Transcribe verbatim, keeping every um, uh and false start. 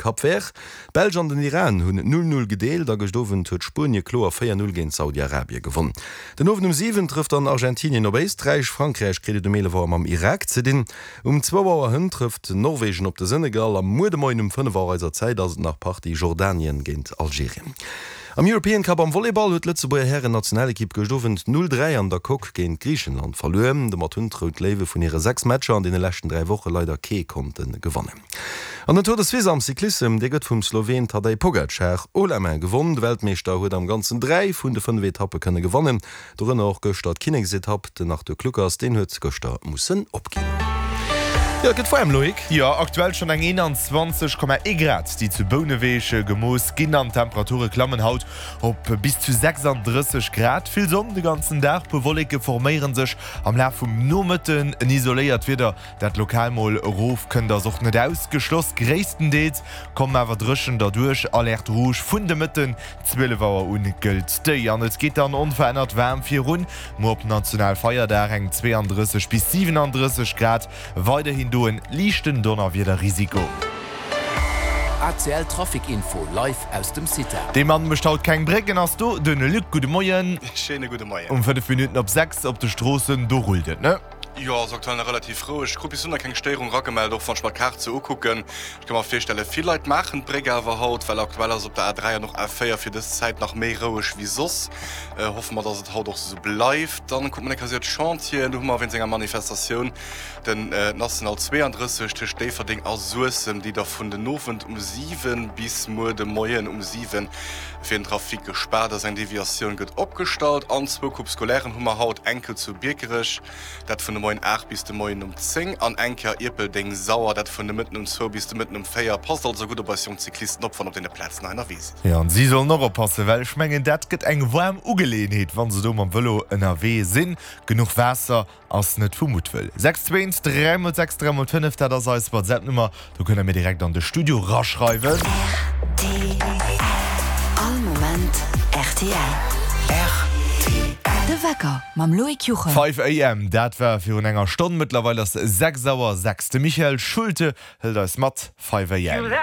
Cap Vert. D'Belsch an den Iran hunn null null gedeelt a gëscht Owend huet Spuenie kloer véier null géint Saudi-Arabie gewonn. Den Owend um siwen trëfft dann Argentinien op Éisträich, Frankräich kritt et um eelef Auer mam Irak ze dinn. Um zwou Auer hënt trëfft Norwegen op de Senegal a muer de Moien um fënnef Auer eiser Zäit ass et nach Partie Jordanien géint Algerien. Am European Cup am Volleyball huet d'Lëtzebuerger Hären-Nationalekipp gëscht Owend null dräi an der Coque géint Griichenland verluer. Domat hunn d'Rout Léiwe vun hire sechs Matcher an deene leschten dräi Woche leider kee konnte gewannen. An den Tour de Suisse am Cyclissem, dee gëtt vum Sloween Tadej Pogacar haut la main gewonn. De Weltmeeschter huet am Ganzen dräi vun de fënnef Etappe kënne gewannen, dorënner och gëschter d'Kinneksetapp. Den Arthur Kluckers, deen huet gëschter mussen opginn. Jo, et gëtt waarm, Loïc. Jo, aktuell schonn eng eenanzwanzeg Komma ee Grad, déi zu Bouneweg gemooss ginn an d'Temperature klammen haut op bis zu sechsanddrësseg Grad. Vill Sonn de ganzen Dag, puer Wolleke forméiere sech am Laf vum Nomëtten. En isoléiert Wieder, dat lokal mol erof kënnt, ass och net ausgeschloss. Gréisstendeels kommen awer dréchen derduerch. Alerte rouge vun de Mëtten zwielef Auer un gëllt déi an et geet dann onverännert waarm virun. Muer op Nationalfeierdag eng zweeandrësseg bis siwenandrësseg Grad, weiderhin do en liichten Donnerwiederrisiko. A C L Trafic Info live aus dem CITA. Dee Mann mécht haut keng Brécken, ass do den Luc. Gudde Moien. Schéine gudde Moien. Um fënnef Minutten op sechs op de Stroossen, do rullt et, ne? Jo, ass aktuell nach relativ roueg. Ech krut bis elo nach keng Stéierung ragemellt, och wann ech mer d'Kaart sou ukucken. Ech ka mer virstellen, vill Leit maachen d'Bréck awer haut, well aktuell ass op der A dräi an och A véier fir dës Zäit nach méi roueg wéi soss. Hoffe mer, dass et haut och sou bleift. Dann kucke mer eng Kéier d'Chantieren. Do hu mer wéinst enger Manifestatioun den National zweeandrësseg tëscht Déifferdeng a Suessem, déi da vun den Owend um siwen bis muer de Moien um siwen fir den Trafic gespaart ass. Eng Deviatioun gëtt opgestallt. An zwou Coupes scolairen hu mer haut, eng Kéier zu Biekerech, dat vun de Moien aacht bis de Moien um zéng, an eng Kéier Ierpeldeng-Sauer, dat vun de Mëtten um zwou bis de Mëtten um véier. Passt also gutt op eis jonk Cyclisten op, wann op deene Plazen hei ënnerwee sidd. Jo, an si sollen och oppassen, well ech mengen, dat gëtt eng waarm Ugeleeënheet, wa se do mam Vëlo ënnerwee sinn. Genuch Waasser ass net vu Muttwëll. Sechs zwee eent dräi mol sechs dräi mol fënnef, dat ass eis WhatsApp-Nummer. Do kënnt der mir direkt an de Studio raschreiwen. R T L. All Moment R T L. R T L. De Wecker mam Loïc Juchem. Five A M, dat war virun enger Stonn. Mëttlerweil ass sechs Auer sechs. De Michael Schulte hëlt eis mat. Five A M.